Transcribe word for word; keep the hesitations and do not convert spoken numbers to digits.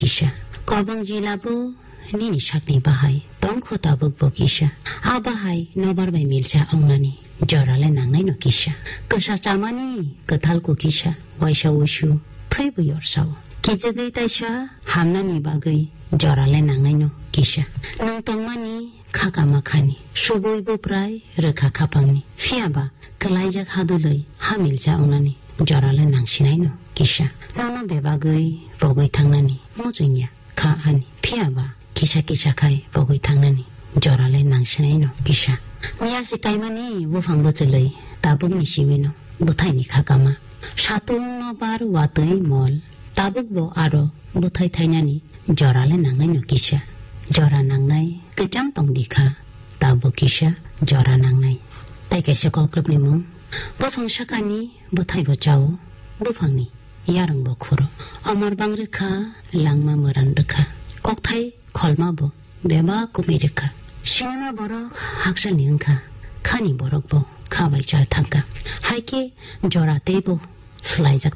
kisa. Kobong jila bo nini sakni bahai tongkho tabuk bo kisa. A bahai nobar bai milsa ongnani jorale nangnai no kisa. Kwsa chamani kwthal ko kisa. Waisa uisu thwi bo yorsao. Kijagwi taisa hamnani bagwi jorale nangnai no kisa. Nwng tongmani kha kama khani, subui buprai rwkha khapangni. Phiya ba kwlaijak hadulwi ha milsa ongnani jorale nangsinai no kisa. Nono bebagwi pogwi thangnani muchungya kha ani. Phiya ba kisa kisa khai pogwi thangnani jorale nangsinai no kisa. Miyasi kaimani buphang bwchwlwi tabukni simi no bwthaini kha kama. Satung nobar watwi mol tabuk bo aro bwthai thainani jorale nangnai no kisa. Jora nangnai kwchang tongdi kha, tabuk kisa jora nangnai. Tai kaisa koklopni mung. Buphang sakani bwthai bo chao, buphangni yarwng bo khuro. Omor bang rwkha, langma mwran rwkha. Kokthai kholma bo bebak kumui rwkha. Sinima borok hakchalni wngkha, khani borok bo kha bai chal thangkha. Hai khe jora tei bo swlaijak thangkha.